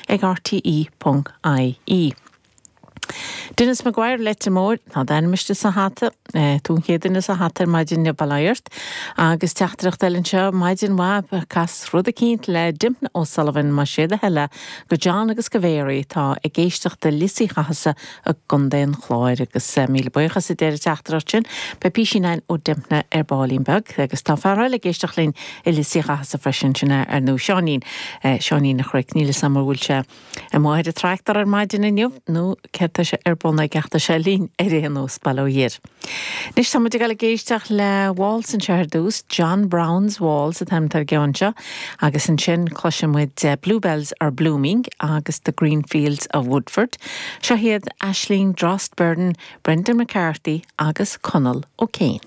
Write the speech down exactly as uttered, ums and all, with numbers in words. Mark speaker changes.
Speaker 1: ag rte.ie. Dennis Maguire Leitir Móir tá d'ainm istigh sa hata tú an chéad duine sa hata ar maidin bail ort agus teachtaireacht eile anseo maidin mhaith cas rud eicínt le Dympna O'Sullivan más é do thoil go John agus go Mary tá ag éisteacht i Lios Uí Chathasaigh i gContae an Chláir agus míle buíochas a deir an teachtaireacht sin beidh píosa ó Dympna ar baillín beag agus tá fear eile ag éisteacht linn i Lios Uí Chathasaigh freisin sin ar nó Seáinín Seáinín a chric níl sam bhfuil sé amuigh ar an tractor ar maidin inniu nó céard tá sé ar bun aige ach tá sé linn ar aon nós bail ó Dhia air. Anois tá muid ag éisteacht le Waltz anseo ar dtús, John Brown's Waltz atá ar an gceann seo, agus ansin cloisfidh muid Bluebells are Blooming agus the Green Fields of Woodford. Seo hiad Aisling Drost Burden, Brendan McCarthy agus Conall O'Kane.